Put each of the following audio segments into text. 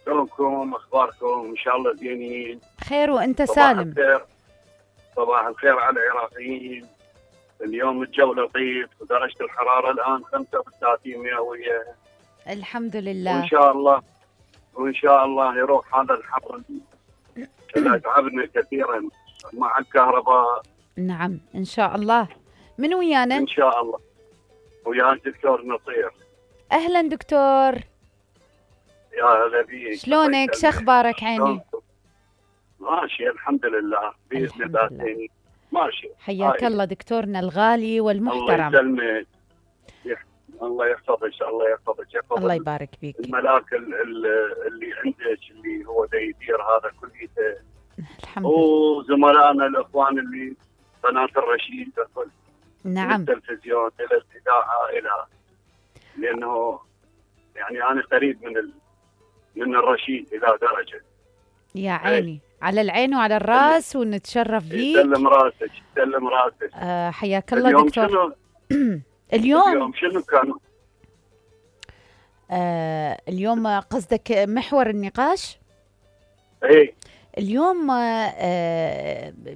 شلونكم؟ اخباركم؟ ان شاء الله زينين. خير وانت صباح سالم. الخير. صباح الخير على العراقيين. اليوم الجو لطيف ودرجة الحرارة الآن 35 مئوية. الحمد لله. وإن شاء الله يروح هذا الحر اللي تعبنا كثيرا مع الكهرباء. نعم إن شاء الله. من ويانا؟ إن شاء الله ويا الدكتور نصير. أهلا دكتور. يا هلا بيك. شلونك؟ شخبارك عيني؟ ماشي الحمد لله بإذن الله. ماشي. حياك الله دكتورنا الغالي والمحترم. الله يسلمك. الله يحفظك. الله يحفظك. الله يبارك فيك. الملاك اللي عندك اللي هو يدير هذا كله. الحمد لله. وزملائنا الإخوان اللي قناة الرشيد كل. نعم. من التلفزيون إلى الإذاعة إلى لأنه يعني أنا قريب من الرشيد إلى درجة. يا عيني على العين وعلى الراس ونتشرف فيك. سلم راسك سلم راسك. حياك الله دكتور. اليوم شنو كان؟ اليوم قصدك محور النقاش؟ ايه اليوم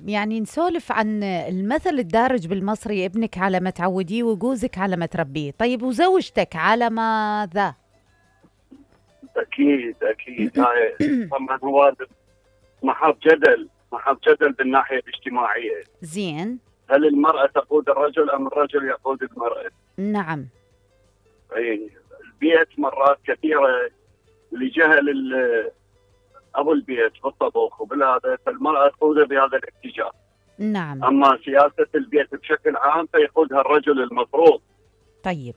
يعني نسولف عن المثل الدارج بالمصري: ابنك على ما تعوديه وجوزك على ما تربيه. طيب وزوجتك على ماذا؟ اكيد هاي طبعا هو محط جدل بالناحيه الاجتماعيه. زين. هل المراه تقود الرجل ام الرجل يقود المراه؟ نعم. اي البيت مرات كثيره لجهل ابو البيت بالطبخ وبالهذا فالمراه تقوده بهذا الاتجاه. نعم. اما سياسه البيت بشكل عام فيقودها الرجل المفروض. طيب.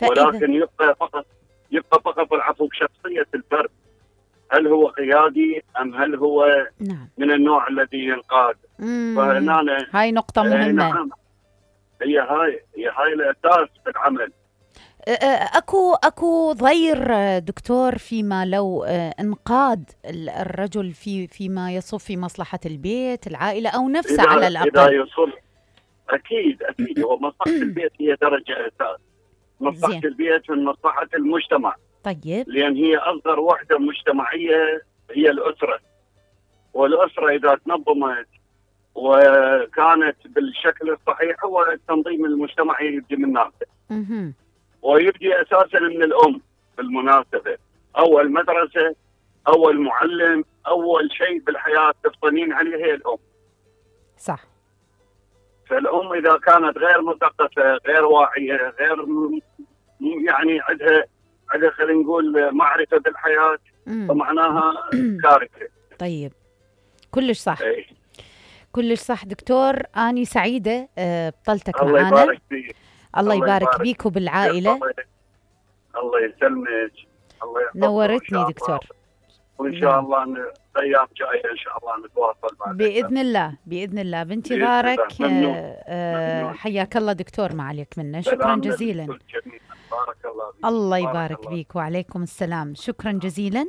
ولكن يبقى فقط العفو بشخصيه الفرد. هل هو قيادي ام هل هو نعم. من النوع الذي ينقاد؟ فهنا هاي نقطه مهمه. نعم. هاي الاساس في العمل. اكو ضير دكتور فيما لو انقاد الرجل فيما يصب في مصلحة البيت العائلة او نفسه على الاقل. اذا يصل اكيد هو مصلحة البيت هي درجة اساس. مصلحة البيت من مصلحة المجتمع. طيب. لان هي اصغر وحدة مجتمعية هي الاسرة. والاسرة اذا تنظمت وكانت بالشكل الصحيح هو التنظيم المجتمعي يبدي من نفسه. ويبدي اساسا من الام بالمناسبه. اول مدرسه اول معلم اول شيء بالحياه تفطنين عليه هي الام. صح. فالام اذا كانت غير مثقفه غير واعيه غير يعني عندها خلينا نقول معرفه بالحياه فمعناها كارثه. طيب كلش صح. كلش صح دكتور. اني سعيده بطلتك معنا. الله يبارك فيك. الله يبارك بيك وبالعائلة. الله يسلمك. الله يحفظك. نورتني دكتور. وإن شاء الله أيام جاية إن شاء الله نتواصل معك. بإذن الله بانتظارك. حياك الله دكتور، ما عليك منه. شكرا جزيلا. بارك الله فيك. الله يبارك بيك. وعليكم السلام. شكرا جزيلا.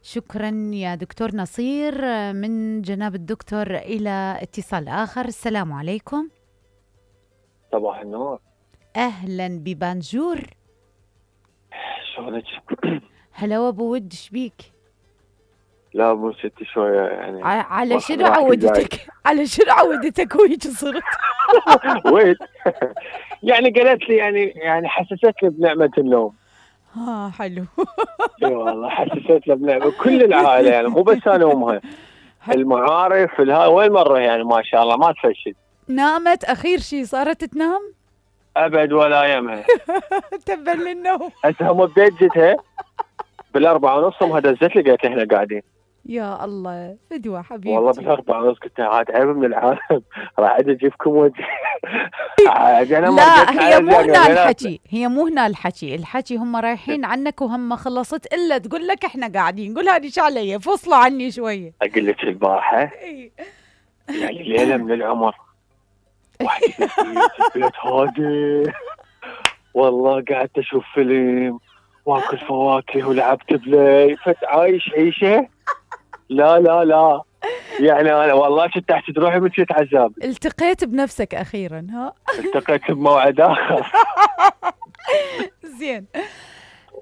شكرا يا دكتور نصير. من جناب الدكتور إلى اتصال آخر. السلام عليكم. صباح النور. أهلا ببانجور. شلونك؟ هلا وابو ود، شبيك؟ لا مو ستي شوية يعني. على شنو عودتك؟ على شنو عودتك وهيك صرت؟ ويت يعني قالت لي يعني حسستني بنعمة النوم. حلو. اي والله حسستنا بنعمة كل العائلة يعني مو بس انا وامها. المعارف وين مرة يعني ما شاء الله ما تفشل. نامت اخير شيء صارت تنام؟ ابد ولا يمها. تبا للنوم. هسه هم ببيت جتها بال4:30 امها دزت لي قالت لي احنا قاعدين. يا الله فدوى حبيبتي. والله بال4:30 قلت لها عاد عيب من العالم راح اجيبكم وجه. لا هي مو هنا الحكي، هي مو هنا الحكي هم رايحين عنك وهم خلصت الا تقول لك احنا قاعدين. قول هذه شو علي فصلوا عني شويه. اقول لك البارحه يعني ليله من العمر واحد البيت هادي والله قعدت اشوف فيلم واكل فواكه ولعبت بلاي عايش عيشه. لا يعني انا والله كنت تحت روحي من شيت عذاب. التقيت بنفسك اخيرا. التقيت بموعد اخر. زين.